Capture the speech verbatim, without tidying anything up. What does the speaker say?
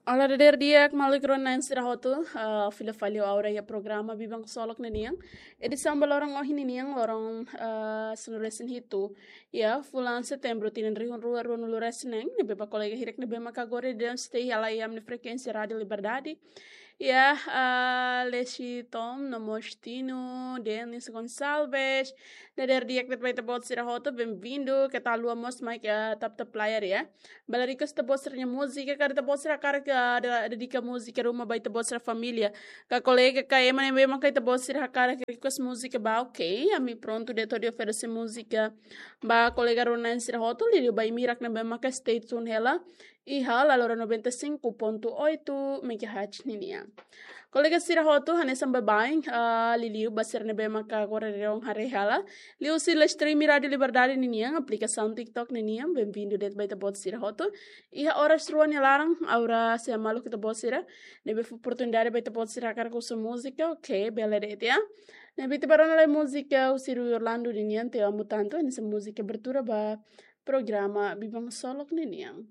Olá, dadeer di'ak, maluk rona-na'in sira hotu, ah, fila fali ho Aura iha programa Biban Ksolok ninian. Edisaun ba loron ohin ninian, loron, ah, sanulu-resin-hitu. Iha fulan Setembru, tinan rihun rua ruanulu-resin-neen, ne'ebé ba kolega hirak ne'ebé maka agora daudaun stay hela iha ami-nia frekuénsia Rádio Liberdade. Iha, ah, Lesi Tom, no mós Tino, Denis Gonçalves, dadeer di'ak de'it ba ita-boot sira hotu, bem-vindo, keta haluha mós mai ke, ah, tap-tap layar, ya. Bele request ita-boot sira-nia múzika, karik ita-boot sira hakarak, ah, de-, dedika múzika ruma ba ita-boot sira família. Ka kolega, ka ema ne'ebé maka ita-boot sira hakarak request múzika ba, ok, ami prontu de'it hodi oferese múzika ba kolega rona-na'in sira hotu, liuliu ba imi hirak ne'ebé maka stay tune hela iha Lalora noventa e cinco ponto oito megahertz ninian. Kolega sira hotu, hanesan baibain, ah, liuliu ba sira ne'ebé maka agora daudaun haree hela liuhusi live stream Rádio Liberdade ninian, aplikasaun TikTok ninian, bem-vindo de'it ba ita-boot sira hotu. Iha oras rua nia laran, Aura sei hamaluk ita-boot sira, ne'ebé fó oportunidade ba ita-boot sira hakarak husu múzika, ok, bele de'it, ya. Ne'ebé ita bá rona lai múzika husi Rui Orlando ninian, Te Amo Tanto, hanesan múzika abertura ba programa Biban Ksolok ninian.